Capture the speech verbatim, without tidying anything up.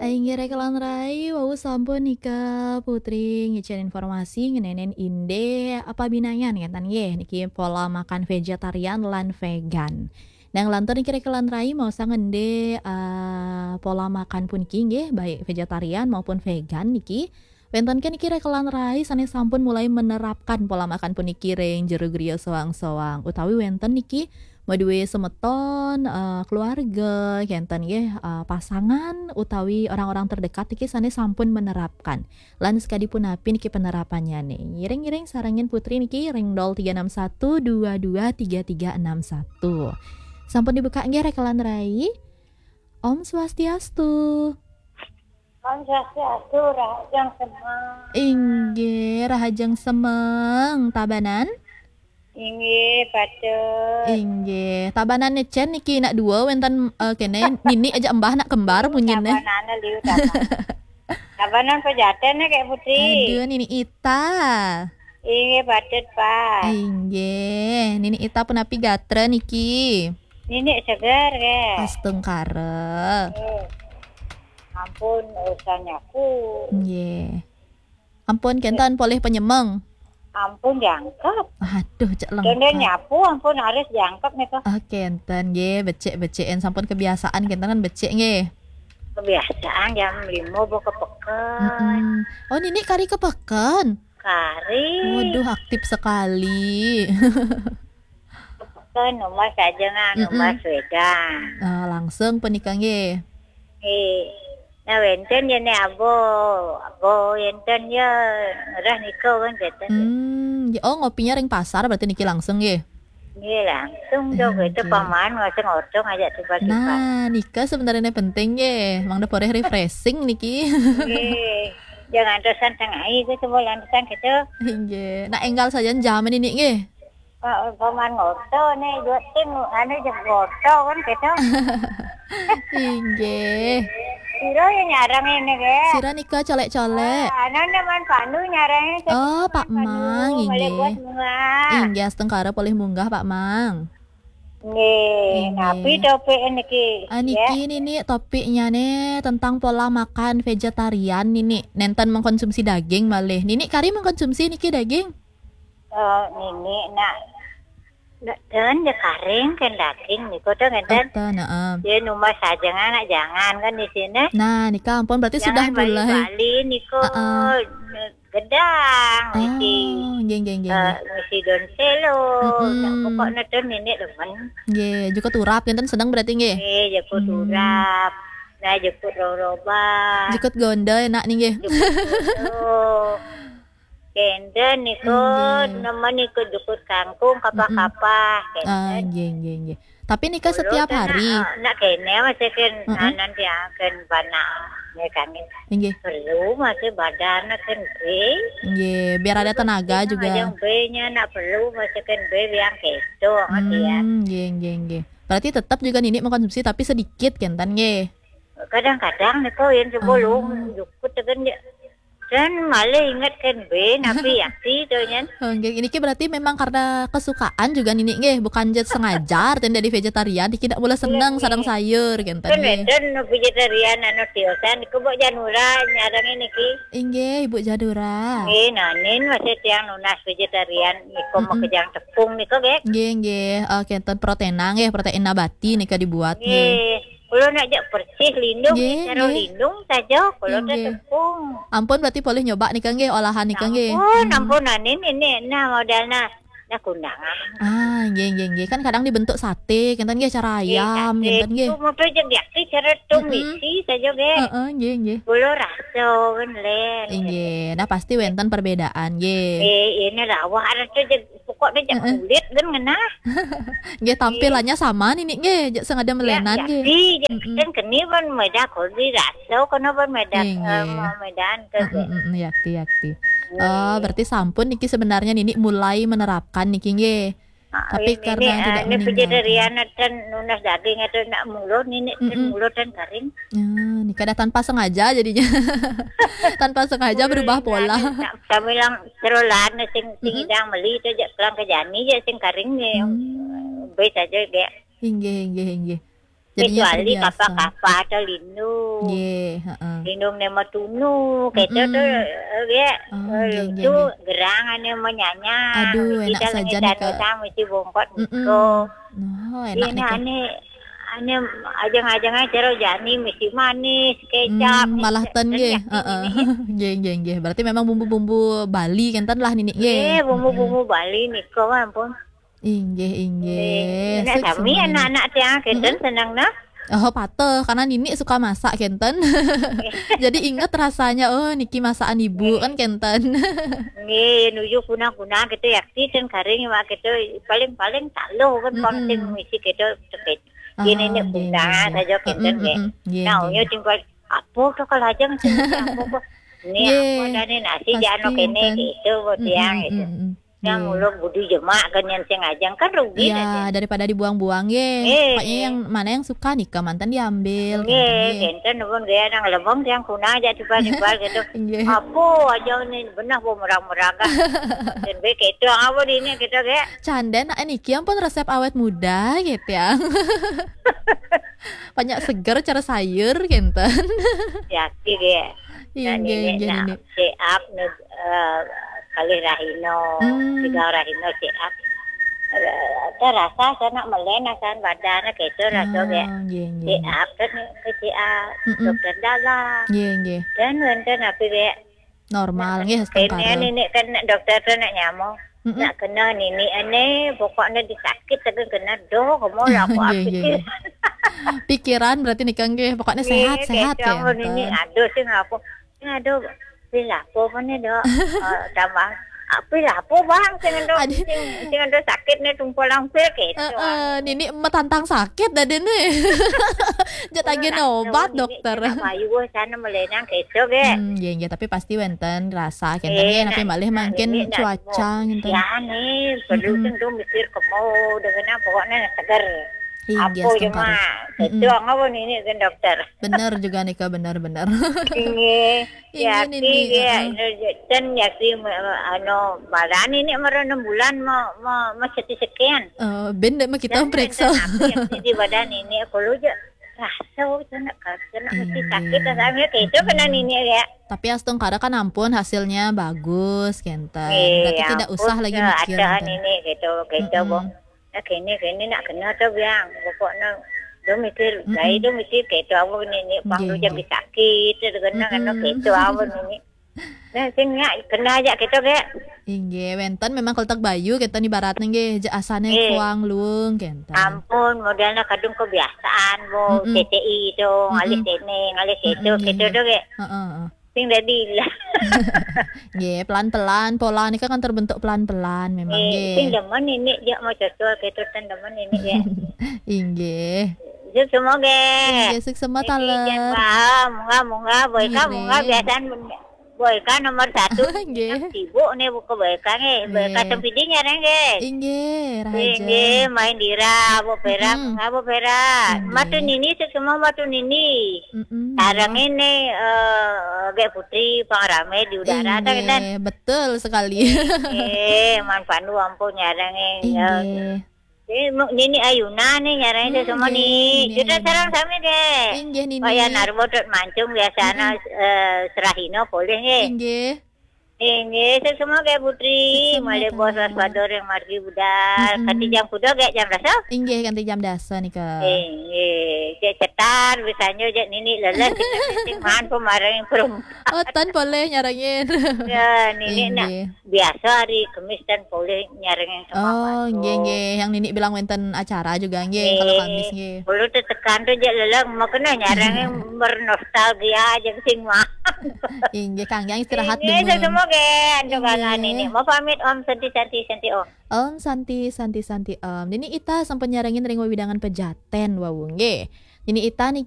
Inggih, rekan rai, wau sampun nika Putri ngicen informasi ngenenen indik pabinayan ngeten nggih, niki pola makan vegetarian lan vegan. Nah, nglantur niki rekan rai, maosang indik, eh, pola makan puniki nggih, baik vegetarian maupun vegan niki. Wenten ke niki rekan rai sane sampun mulai menerapkan pola makan puniki ring jero griya soang-soang, utawi wenten niki madue semeton, eh, keluarga, kenten nggih, eh, pasangan utawi orang-orang terdekat niki sane sampun menerapkan. Lan sekadi punapi niki penerapannyane? Ngiring-ngiring sarengin Putri niki ring nol tiga enam satu dua dua tiga tiga enam satu. Sampun dibuka nggih rekan rai. Om Swastiastu. Om Swastiastu, rahajeng semeng. Inggih, rahajeng semeng. Tabanan? Inggih, patut. Inggih. Tabanan necen niki nak dua wenten, eh, kene nini aja embah nak kembar punyine. Tabanane liu tabanan. Tabanan pejaten ya, Kak Putri. Aduh, nini Ita. Inggih, patut, Pak. Inggih, nini Ita punapi gatra niki? Nini segar, Kak. Astungkara. Eh, ampun, urusan nyapu. Nggih. Ampun, kenten polih penyemeng. Ampun, jangkep. Aduh, cek lengkap. Kenten nyapu, ampun, harus jangkep nika. Ah, kenten, nggih, becik-becikin. Sampun kebiasaan, kenten kan becik, nggih. Kebiasaan jam lima bawa ke peken. Mm-mm. Oh, nini kari ke peken? Kari. Waduh, aktif sekali. Ke rumah saja, nah, mm-mm, rumah sepeda. Ah, langsung punika nggih. Nggih. Nah, wenten ya ne abo, abo wenten ya ngerah nika kan kenten. Hmm, ya, oh, ngopinya ring pasar berarti niki langsung nggih. Nggih, langsung dong, nggih, itu paman ngoseng ordo ngajak tiba-tiba. Nah, nika sebenarnya penting nggih. Mangda poreh refreshing niki. Nggih. Jangan terusan tengah itu coba lantasan gitu. Nggih. Nah, enggal saja jaman ini nggih. Pak, paman ngoto nih, dua tim, anu, jeng ngoto kan, gitu. Inggih. Sira ya nyarang ini, ge. Sira nika colek-colek. Ah, anu, nih, Man Pandu nyarang ini, oh, Pak Man Pandu, Mang, balik inggih. Buat bunga. Inggih, astungkara polih munggah, Pak Mang. Nggih, inggih. Napi topik niki? Ah, niki, ya, nini topiknya nih tentang pola makan vegetarian nini. Nenten mengkonsumsi daging malih. Nini kari mengkonsumsi niki daging? Eh, nini nak, nak, ten ya karing kan daging niku tuh ngenten. Oh, ten, heeh. Ya, numah saja, anak jangan kan di sini. Nah, nika ampun berarti sudah mulai. Jangan bali-bali niku, heeh, gedang, ah, ngisi, nggih, nggih, nggih, eh, nggih, ngisi daun selo. Mm-mm. Nah, pokoknya tuh nini demen. Nggih, jukut urap ngenten seneng berarti nggih? Nggih, jukut, hmm, urap. Nah, jukut roroba. Jukut gondo enak nih nggih. Jukut gondo. Kenten niku, inggih, nemen niku jukut kangkung, kapah-kapah, mm-mm, kenten. Ah, nggih, nggih, nggih. Tapi nika setiap hari? Nak, eh, nak kene masih ken, mm-mm, anan tiang ken bana, ya kan. Inggih. Perlu masih badan ken be. Nggih, biar ada tenaga juga. Yang be-nya nak perlu masih ken be yang keto, ngerti ya? Hmm, nggih, nggih, nggih. Berarti tetap juga nini mengkonsumsi tapi sedikit kenten nggih. Kadang-kadang niku yang sebelum, hmm, jukut kan ya. Dan malah inget kan be, napi yakti tuh nyen. Oh, nggih. Niki berarti memang karena kesukaan juga nini nggih, bukan jet sengaja, ten dari vegetarian, niki tidak boleh seneng, iya, sareng sayur, kenten nggih. Kan wenten vegetarian anu tiosan, niku Mbok Janura nyarang niki. Inggih, Ibu Janura. Nggih, nanin masih tiang nunas vegetarian, niku, mm-mm, makejang tepung niku, nggih. Nggih, nggih. Eh, kenten protein nggih, protein nabati nika dibuat nggih. Nggih. Kulo nak jak persis lindung, nggih, cara, nggih, lindung saja, kulo teh, nggih, tepung. Ampun, berarti boleh nyoba nika nggih, olahan nika nggih. Ampun, hmm, ampun, nah, ini, ini, nah, modalnya, nah, kundangan. Ah, nggih, nggih, nggih. Kan kadang dibentuk sate, kenten nggih, cara, nggih, ayam, sate. Kenten nggih. Itu mau tuh jadi, cara tuh, mm-mm, misi saja, nggih. Heeh, nggih, nggih. Kulo rasa, kan, len. Nggih, nah, pasti wenten perbedaan, nggih. Eh, ini rawah ada tuh, pokoknya jak, heeh, kulit kan ngenah. Nggih, tampilannya sama nini nggih, jak sing ada melenan nggih. Ya, yakti, mm-mm, kan keni pun meda kodi raso, kena pun meda, nggih, eh, nggih, medan ke, mm-mm, nggih. Mm-mm, yakti, yakti. Nggih. Oh, berarti sampun niki sebenarnya nini mulai menerapkan niki nggih. Ah, tapi ini, karena ini, tidak, eh, ini meninggalkan. Vegetarian dan nunas daging itu nak mulut nini, mm-mm, mulut dan kering. Ya, nika dah tanpa sengaja jadinya. Tanpa sengaja berubah pola. Sambil lang cerolan sing, sing, mm-mm, idang meli itu jak pulang ke jani jak sing karing nih. Hmm. Be saja, nggih. Inggih, inggih, inggih. Kecuali kapa-kapa atau lindung. Nggih, heeh. Lindung ne matunu, keto tu, eh, ge, eh, lucu, gerang ane manyanya. Aduh, enak saja nika. Mesti bongkot niko. Oh, enak nika. Ane, ane ajeng-ajeng acara jani mesti manis, kecap. Hmm, malah ten nggih. Heeh. Nggih, nggih, nggih. Berarti memang bumbu-bumbu Bali kenten lah nini nggih. Nggih, bumbu-bumbu Bali niko, ampun. Inggih, inggih. Nggih. Nek sami anak-anak tiang kenten seneng nah. Oh, pateh, karena nini suka masak kenten. Jadi inget rasanya, oh, niki masakan ibu kan kenten. Nggih, nuju kuna-kuna gitu ya, ten kering mak gitu, paling-paling taluh kan, mm-mm, pang sing misi gitu, cepet. Gini nih, nggih, kuna nggih, nggih. Saja kenten nggih. Mm-mm, mm-mm. Nggih, nah, nggih, nggih. Apa tuh kalau aja sing apa kok. Ini nggih, apa dah nih nasi pasti jano kene enten gitu, buat tiang gitu. Mm-mm, mm-mm. Yang ulun budi jemak kan yang sing ajang kan rugi. Iya, daripada dibuang-buang, ye. Eh, pokoknya yang mana yang suka nika mantan diambil, nggih, gitu, nggih. Kenten pun gaya nang lebong yang kuna aja tiba-tiba gitu. Nggih. Apa aja ni benah bu murah-murah kan. Dan baik itu apa di ini kita kayak. Canda nak niki ampun resep awet muda gitu ya. Banyak seger cara sayur kenten. Yakin ya. Inggih, inggih, nak nini. Siap nih, eh, kali rahino, hmm, tiga rahino siap. Eh, terasa sana melen asan badan keto rasa ge. Ah, nggih, nggih, nggih. Siap kan ke siap. Mm-mm. Dokter dalam. Nggih, nggih. Dan wenten apa ge? Normal nggih, setengkara. Kene nini kan dokter tu nak nyamuk. Mm-mm. Nak kena nini ane, pokoknya disakit tapi kena doh, kamu lah aku. Nggih, nggih, nggih. Pikiran berarti nika nggih, pokoknya sehat-sehat ya. Nggih, nggih, nggih, nggih. Aduh sih ngaku. Aduh, pil apa mana dok? Eh, tambah. Ah, pil apa bang? Sing endo, sing, sing endo sakit nih tumpul langsir gitu. Eh, eh, nini metantang sakit dah deh nih. Jatagih obat, dokter. Bayu sana melenang keco ge. Hmm, nggih, nggih, tapi pasti wenten rasa kenten nggih, nak malih mangkin cuaca ngenten. Ya nih, perlu tentu mikir kemo dengan pokoknya seger. Inggih, apa cuma? Mm-mm. Itu apa nini kan dokter? Bener juga nika, bener, bener. Inggih. Inggih, nini, heeh. Ten ya si, anu, badan ini mara enam bulan mau, mau, mau seti sekian. Eh, ben dek mau kita periksa. Di badan ini aku lu je. Rasa kena, kena mesti sakit, rasanya kayak itu kena nini ya. Tapi astungkara kan ampun hasilnya bagus kenten. Berarti tidak usah lagi mikir kenten. Ini gitu, gitu, Bu. Nah, kene, kene nak kena tu biang. Pokoknya dia mikir, gaya dia mikir kayak itu apa nini, pang lu jadi sakit, itu kena, kena kayak itu apa nini. Nah, sing nak kena aja gitu kayak. Inggih, wenten memang keletek bayu kenten ibaratnya nggih, je asane kuang luung kenten. Ampun, modelnya kadung kebiasaan, Bu, C C I itu, ngalih sini, ngalih situ, gitu tu kayak. Heeh, heeh. Sing dadi lah. Nggih, pelan-pelan, pola nika kan terbentuk pelan-pelan memang nggih. Sing demen ini dia mau cocok gitu ten demen ini ya. Inggih. Sik semoga. Inggih, sik semoga taler. Munggah, munggah, boy ka munggah biasaan boy ka nomor satu. Nggih. Sibuk nih buka boy ka nih. Boy ka tempidi nyareng nggih. Inggih, raja. Inggih, main dira, Bu Pera, munggah Bu Pera. Matu nini sik semua matu nini. Mm-mm. Sareng ini, eh, Gek Putri pangrame di udara, ta, inggih, kenten? Betul sekali. Eh, man pandu ampun nyareng, eh, ya. Inggih. Eh, mu-, nini Ayuna nih nyareng semua nini. Kita sareng sami deh. Inggih, nini. Kaya narbo dot mancung biasanya, eh, serahino boleh nggih. Inggih. Inggih, sik semua kayak Putri, malih bos waspada ring margi budal. Kanti jam kuda kayak jam dasa? Inggih, kanti jam dasa nika. Inggih, cek cetar, bisanya cek nini lelah, kita sing maan pemareng perum. Oh, tan boleh nyarengin. Ya, nini nak biasa hari Kemis tan boleh nyarengin kemauan. Oh, nggih, nggih. Yang nini bilang wenten acara juga, nggih, kalau Kamis, nggih. Kulo tetekan tu je lelah, makanya nyarengin bernostalgia aja sing mah. Inggih, kangge istirahat dulu. Inggih, semoga ando kalan ini. Mau pamit, Om Santi, Santi, Santi, Om. Om Santi, Santi, Santi, Om. Nini Ita sampun nyarengin ring wewidangan Pejaten, wau nggih. Nini Ita nih,